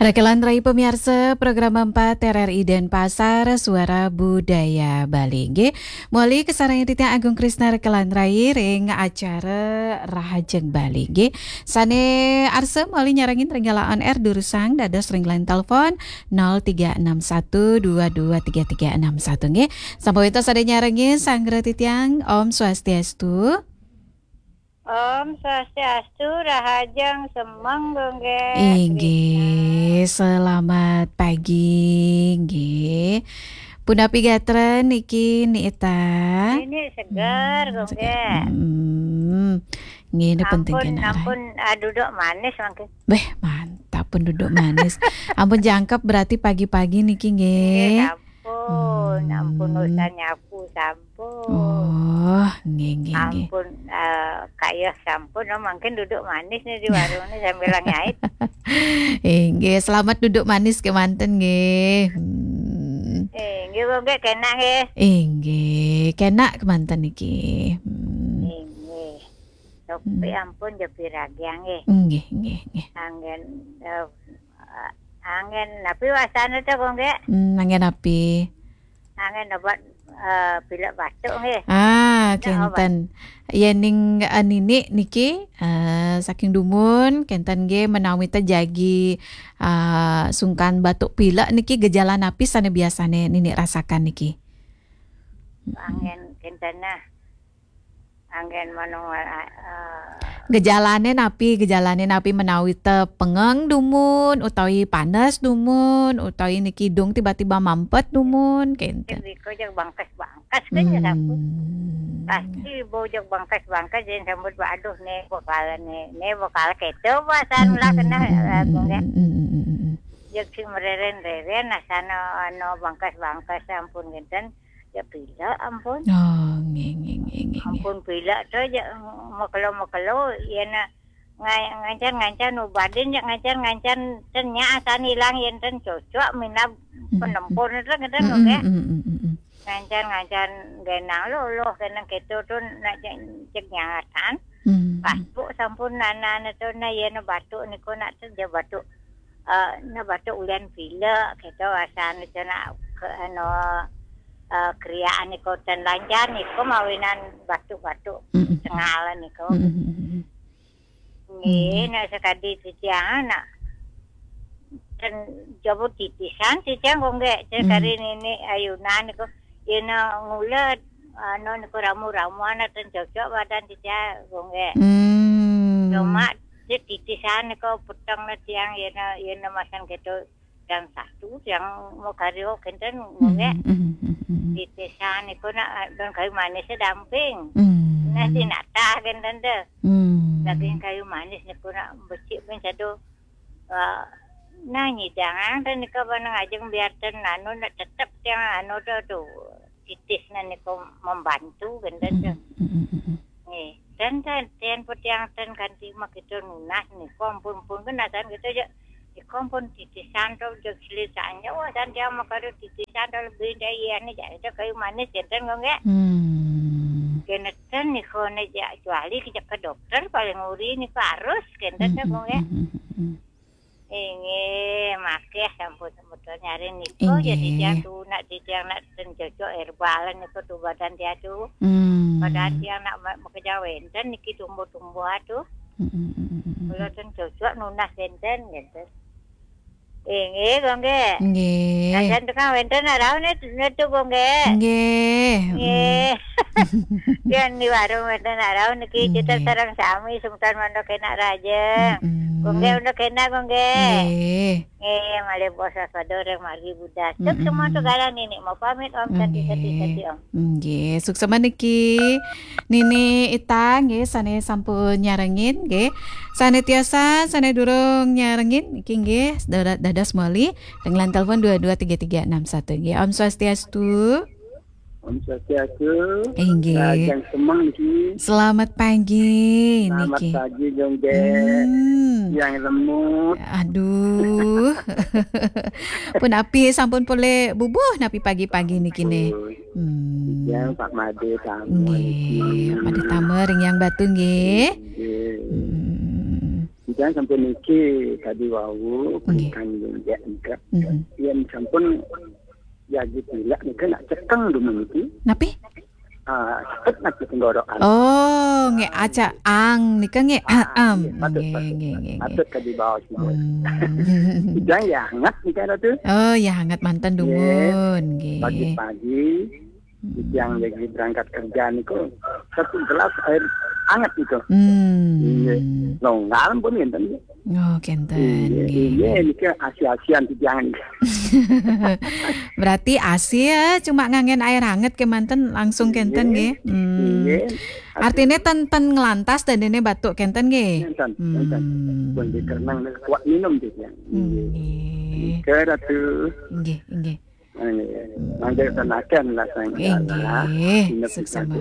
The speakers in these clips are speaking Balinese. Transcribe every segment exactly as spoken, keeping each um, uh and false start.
Rekelan rai pamiarsa program empat R R I Denpasar, Suara Budaya Bali. Nggih, moli kasarengin titiang Agung Krisna rekelan rai ring acara Rahajeng Bali. Nggih, sane arsa moli nyarengin ring galah on air durusang dados ring line telepon nol tiga enam satu dua dua tiga tiga enam satu. Nggih, sampun wenten sane nyarengin sanggra titiang. Om Swastiastu. Om Swastiastu, Rahajeng Semeng, Gung Gek. Inggih, selamat pagi, nggih. Punapi gatra niki, Ni Ita? Ini segar, Gung Gek. Hmm. Nggih, ini penting. Ampun, kena, ampun, ah, duduk manis mangkin. Beh, mantap pun duduk manis. Ampun jangkep berarti pagi-pagi niki, nggih. Nggih, ampun, ampun, hmm, urusan nyapu sampun. Oh, nggih, nggih, nggih. Ampun, eh, kayeh sampun, oh, mangkin duduk manis nih di warung nih sambil ngait. Inggih, selamat duduk manis kemanten nggih. Hmm. Eh, nggih, Gung Gek, kena nggih. Inggih, kena kemanten niki. Hmm. Inggih. Tapi, hmm, ampun, jepi ragi nggih. Nggih, nggih, nggih. Anggen, eh, anggen napi wasana to, Gung Gek? Hmm, anggen napi? Anggen obat, eh, pilek batuk nggih. Ah, obat. Kenten. Yening, eh, Nini niki, eh, saking dumun, kenten nggih menawi te jagi, eh, sungkan batuk pilek niki gejala napi sane biasane Nini rasakan niki? Anggen kenten nah. Anggen manung, eh, gejalane napi, gejalane napi menawi te pengeng dumun, utawi panes dumun, utawi niki hidung tiba-tiba mampet dumun, kenten. Niku jeg bangkes-bangkes kan ya sampun. Hmm. Pasti bau jeg bangkes-bangkes, jadi sambut, "Aduh, ne bakal, ne, ne bakal keto pasan lah kena, eh, Gung Gek." Hmm, hmm, hmm, hmm, hmm. Jeg sing mereren-reren, asana anu bangkes-bangkes sampun kenten. Ya pilek ampun. Oh, nggih, nggih, nggih, nggih, nggih. Ampun pilek to, ya, makelo-makelo, ya na, ngai-, ngancan-ngancan ubadin, ya ngancan-ngancan ten nya asan ilang, yen ten cocok minab, hmm, penempur ten, ten, hmm, nggih. Hmm, hmm, hmm, hmm. Ngancan-ngancan genang loloh, genang keto to nak cek, cek nyangatan. Hmm. Pas bu sampun nana to na, ya na batuk niku nak ten ya batuk. Eh, ne batuk ulian pilek, gitu, asal ne kena ke, anu, eh, kriaan niku ten lancar niku mawinan batuk-batuk, mm-mm, tengal niku. Mm-mm. Nggih, mm, nek sekadi titiang, nak ten jaba titisan titiang kok nggih, sekadi, mm, nini ayunan niku, yen ngula, anu niku ramu-ramuan ten cocok badan titiang kok nggih. Hmm. Cuma titisan niku peteng ne tiang yen, yen masan gitu jam satu tiang mau karyo kenten nggih. Hmm, hmm, hmm, hmm. Titisan niku nak don kayu manis damping. Hmm. Nah, sinatah kenten deh. Hmm. Daging kayu manis niku nak becik pun satu, eh, nah, nyidang ten niku panang ajeng biar ten anu nak tetep tiang anu tu, tu titis niku membantu kenten deh. Hmm, hmm, hmm, hmm. Nggih, ten, ten, ten pun tiang ten kanti mah kita nunas niku ampun-ampun kan nasan kita aja. Niku ampun titisan to jeg selesanya, wah, san tiang mah kada titisan to lebih dari iya ni, jadi itu kayu manis kenten kok nggih. Hmm. Kena ten niku ne ja, kecuali kita ke dokter paling uri niku harus kenten kok nggih. Hmm, hmm, hmm, hmm. Inggih, makeh sampun semeton nyari niku, nggih, jadi tiang tuh nak, di tiang nak ten cocok herbal niku tuh badan tiang tuh. Hmm. Badan tiang nak ma-, makeja wenten niki tumbuh-tumbuh tuh. Mm, mm, mm, mm, mm. Kula ten cocok nunas wenten, gitu. Inggih, kok nggih. Nggih. Sajan tukang wenten arau ne, ne tuh kok nggih. Nggih. Nggih. Mm. Yen di warung wenten arau niki, nggih, kita sareng sami sungkan mandok enak raja. Mm, mm. Kok nggih, mandok enak kok nggih. Nggih. Nggih, malih basa pada orang margi Buddha. Cek, mm-mm, semua segala nini mau pamit, Om, santi, santi, santi, nggih, Om. Nggih, suksma niki Nini Ita nggih sane sampun nyarengin nggih. Sane tiasa, sane durung nyarengin niki nggih dada-, dados moli dengan telepon dua dua tiga tiga enam satu nggih. Om Swastiastu. Om Swastiastu. Inggih. Rahajeng Semeng niki. Selamat pagi. Selamat niki pagi, Gung Gek. Hmm. Yang lemut. Aduh. Punapi sampun polih bubuh napi pagi-pagi niki ne. Sampun. Hmm. Yang Pak Made tamu niki. Nggih, Pak Made tamu ring Yang Batu nggih. Nggih. Hmm. Di Yang sampun niki tadi wau, nggih, pernikahan yang nika. Mhm. Yang sampun jagi pilak nika nak cekeng dumun niki. Napi? Ah, cepet nak tenggorokan. Oh, nggih, aca ang nika nggih. Ah, ahem, nggih, patut, nggih, patut, nggih, nggih, nggih, patut kadi baos mawon. Hmm. Ujang ya hangat nika, Ratu. Oh, ya hangat manten, nggih, dumun, nggih. Pagi-pagi, hmm, yang lagi berangkat kerja niku, satu gelas air hangat itu. Hmm. Nggih. Longgar pun ngenten. Oh, kenten, nggih, nggih, nggih, nggih. Niki asi-asian titiang. Berarti asi ya, cuma nganggen air hangat kemanten langsung kenten, nggih, nggih. Hmm. Nggih. Artinya ten, ten ngelantas dan ini batuk kenten, nggih. Nenten, nenten. Hmm. Pun dikerenang kuat minum titiang. Nggih. Nggih. Nggih, Ratu. Nggih, nggih. Nggih. Mangga tenaken lah sang. Inggih, suksema.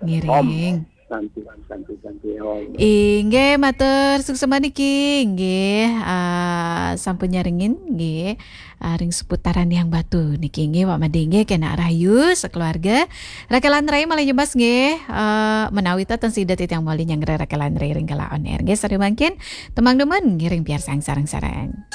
Ngiring. Santi, santi, santi, om. Inggih, matur suksema niki, inggih, ah, sampun nyarengin, inggih, ah, ring seputaran Yang Batu niki, inggih, Wak Made, inggih, kena rahayu sekeluarga. Rakelan rai malih nyebas, inggih, ah, menawi ten sida titiang malih nyanggra rakelan rai ring kala on air, inggih, sare mangkin, tembang dumun, ngiring piarsang sareng-sareng.